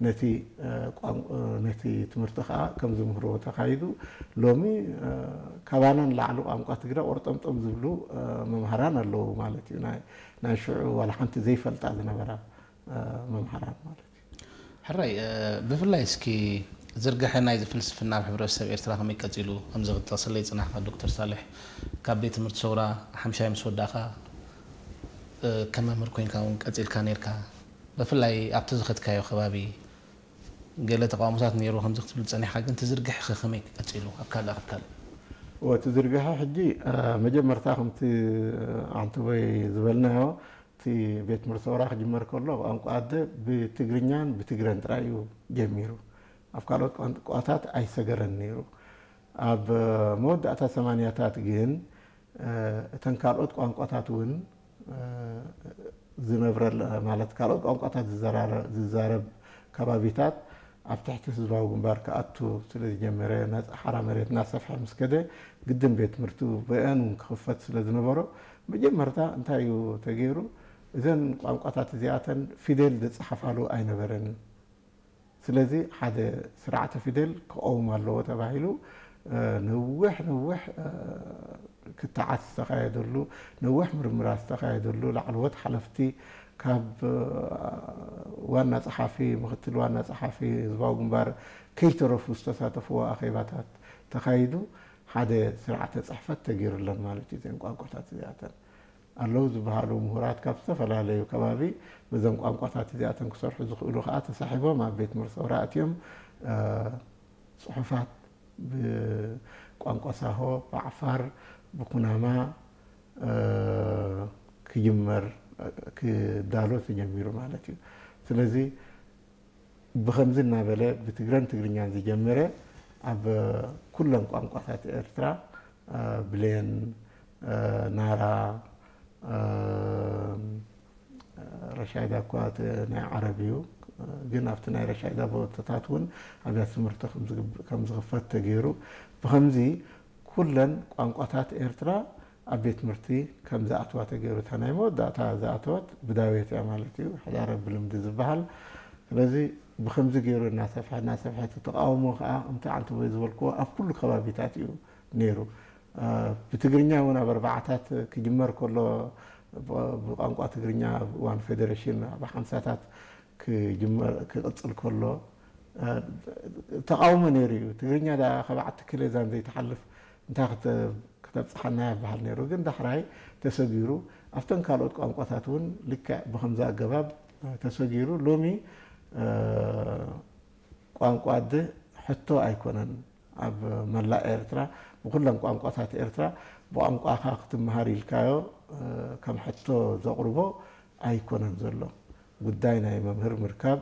ነቲ ነቲ ትምህርቲ ከዓ ከም ዝምህርዎ ተኻይዱ። ሎሚ ካባና ንላዕሊ ቋንቋ ትግረ ቆርጠምጠም ዝብሉ መምሃራን ኣለዉ ማለት እዩ። ናይ ሽዑ ዋላ ሓንቲ ዘይፈልጣ ዝነበራ መምሃራን ማለት እዩ። ሕራይ ብፍላይ እስኪ ዝርግሐ ናይዚ ፍልስፍና ኣብ ሕብረተሰብ ኤርትራ ከመይ ቀፂሉ ከምዚ ክትጠቕሰለይ ፅናሕካ ዶክተር ሳልሕ? ካብ ቤት ትምህርቲ ሰውራ ሓምሻይ ምስ ወዳእካ ከም መምህር ኮይንካ እውን ቀፂልካ ነርካ። ብፍላይ ኣብቲ ዝኸድካዮ ከባቢ ገለ ተቃውሞታት ነይሩ ከምዚ ክትብል ጸኒሕካ ግን ትዝርግሕ ከ ከመይ ቀጺሉ ኣብ ካልእ ኣብ ካልእ? ወቲ ዝርግሐ ሕጂ መጀመርታ ከምቲ ኣንተቦይ ዝበልናዮ እቲ ቤት ትምህርቲ ሰውራ ክጅመር ከሎ ቋንቋ ኣደ ብትግርኛን ብትግረን ጥራይ እዩ ጀሚሩ። ኣብ ካልኦት ቋንቋታት ኣይሰገረን ነይሩ። ኣብ መወዳእታ ሰማንያታት ግን እተን ካልኦት ቋንቋታት እውን ዝነብረል ማለት ካልኦት ቋንቋታት ዝዛረብ ከባቢታት ኣብ ትሕቲ ህዝባዊ ግንባር ክኣቱ ስለ ዝጀመረ ናፃ ሓራ መሬት እናሰፍሐ ምስ ከደ ግድን ቤት ትምህርቲ ብአን እውን ክኽፈት ስለ ዝነበሮ መጀመርታ እንታይ እዩ ተገይሩ? እዘን ቋንቋታት እዚኣተን ፊደል ዝፀሓፋሉ ኣይነበረን። ስለዚ ሓደ ስርዓተ ፊደል ክቐውም ኣለዎ ተባሂሉ ነዊሕ ነዊሕ ክትዓት ዝተኻየደሉ ነዊሕ ምርምራት ዝተኻየደሉ ላዕለዎት ሓለፍቲ ካብ ዋና ፀሓፊ ምክትል ዋና ፀሓፊ ህዝባዊ ግንባር ከይተረፉ ዝተሳተፍዎ ኣኼባታት ተኻይዱ ሓደ ስርዓተ ፅሕፈት ተገይሩለን ማለት እዩ። እዘን ቋንቋታት እዚኣተን ኣለዉ ዝበሃሉ ምሁራት ካብ ዝተፈላለዩ ከባቢ በዘን ቋንቋታት እዚኣተን ክሰርሑ ዝኽእሉ ከዓ ተሳሒቦም ኣብ ቤት ትምህርቲ ሰውራ ኣትዮም ፅሑፋት ብቋንቋ ሳሆ፣ ብዓፋር፣ ብኩናማ ክጅመር ክዳሎ ተጀሚሩ ማለት እዩ። ስለዚ ብኸምዚ እናበለ ብትግረን ትግርኛን ዝጀመረ ኣብ ኩለን ቋንቋታት ኤርትራ ብሌን፣ ናራ፣ ረሻይዳ እኳ ናይ ዓረብ እዩ፣ ግን ኣብቲ ናይ ረሻይዳ ቦታታት እውን ኣብያተ ትምህርቲ ከም ዝኽፈት ተገይሩ። ብኸምዚ ኩለን ቋንቋታት ኤርትራ ኣብ ቤት ትምህርቲ ከም ዝኣትዋ ተገይሩ። እታ ናይ መወዳእታ ዝኣተወት ብዳዌት እያ ማለት እዩ፣ ሕዳረ ብልምዲ ዝበሃል። ስለዚ ብኸምዚ ገይሩ እናሰፍሐ እናሰፍሐ እቲ ተቃውሞ ከዓ ከምቲ ዓንተቦይ ዝበልክዎ ኣብ ኩሉ ከባቢታት እዩ ነይሩ። ብትግርኛ እውን ኣብ ኣርባዓታት ክጅመር ከሎ ብቋንቋ ትግርኛ ኣብ እዋን ፌደሬሽን ኣብ ሓምሳታት ክጅመር ክቕፅል ከሎ ተቃውሞ ነይሩ እዩ። ትግርኛ ዳ ካብ ዓቲ ክሌዛን ዘይትሓልፍ እንታይ ክተ- ክተብፅሓና ይበሃል ነይሩ። ግን ዳሕራይ ተሰጊሩ ኣብተን ካልኦት ቋንቋታት እውን ልክዕ ብከምዚ ኣገባብ ተሰጊሩ ሎሚ ቋንቋ ኣደ ሕቶ ኣይኮነን። ኣብ መላእ ኤርትራ ብኩለን ቋንቋታት ኤርትራ ብቋንቋኻ ክትመሃር ኢልካዮ ከም ሕቶ ዘቕርቦ ኣይኮነን ዘሎ። ጉዳይ ናይ መምህር ምርካብ፣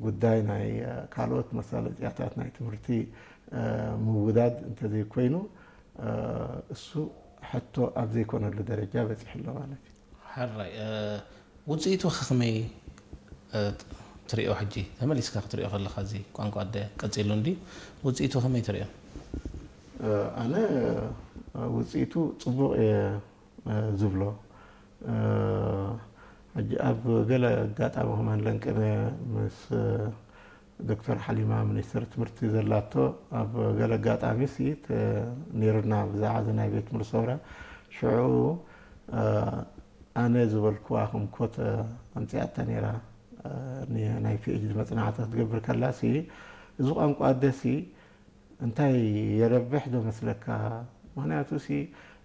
ጉዳይ ናይ ካልኦት መሳለጥያታት ናይ ትምህርቲ ምውዳድ እንተዘይኮይኑ እሱ ሕቶ ኣብ ዘይኮነሉ ደረጃ በፂሑ ኣሎ ማለት እዩ። ሕራይ ውፅኢቱ ከመይ ትሪኦ? ሕጂ ተመሊስካ ክትሪኦ ከለካ እዚ ቋንቋ ኣደ ቀፂሉ እንዲ ውፅኢቱ ከመይ ትሪኦ? ኣነ ውፅኢቱ ፅቡቕ እየ ዝብሎ። ሕጂ ኣብ ገለ ኣጋጣሚ ከማን ለንቅነ ምስ ዶክተር ሓሊማ ሚኒስትር ትምህርቲ ዘላቶ ኣብ ገለ ኣጋጣሚ ሲ ነይሩና ብዛዕባ እዚ ናይ ቤት ትምህርቲ ሰውራ ሽዑ ኣነ ዝበልክዋ ከም ኮት ኣምፅኣታ ነይራ ናይ ፒኤችዲ መፅናዕቲ ክትገብር ከላ ሲ እዚ ቋንቋ ኣደሲ እንታይ የረብሕ ዶ መስለካ? ምክንያቱ ሲ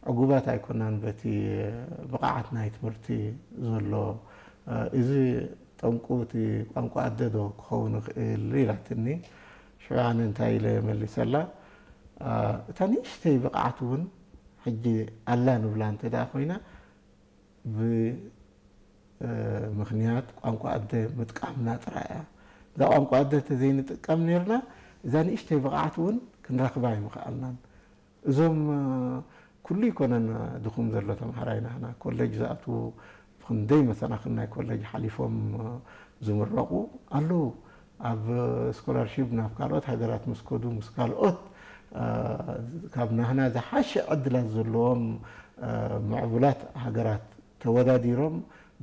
ዕጉባት ኣይኮናን በቲ ብቕዓት ናይ ትምህርቲ ዘሎ። እዚ ጠንቁ እቲ ቋንቋ ኣደ ዶ ክኸውን ይኽእል ኢላትኒ። ሽዑ ኣነ እንታይ ኢለ መሊሰላ፣ እታ ንእሽተይ ብቕዓት እውን ሕጂ ኣላ ንብላ እንተ ደኣ ኮይና ብ ምኽንያት ቋንቋ ኣደ ምጥቃምና ጥራይ እያ። እዛ ቋንቋ ኣደ እንተዘይንጥቀም ነርና እዛ ንእሽተይ ብቕዓት እውን ክንረኽባ ኣይምኽኣልናን። እዞም ኩሉ ይኮነን ድኹም ዘሎ ተምሃራይ ናህና ኮሌጅ ዝኣትዉ ብክንደይ መሰናኽል ናይ ኮሌጅ ሓሊፎም ዝምረቑ ኣለዉ። ኣብ ስኮላርሺፕ ናብ ካልኦት ሃገራት ምስ ከዱ ምስ ካልኦት ካብ ናህና ዝሓሸ ዕድላት ዘለዎም ምዕቡላት ሃገራት ተወዳዲሮም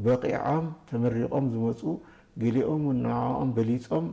በቒዖም ተመሪቖም ዝመፁ ገሊኦም እውን ንዕኦም በሊፆም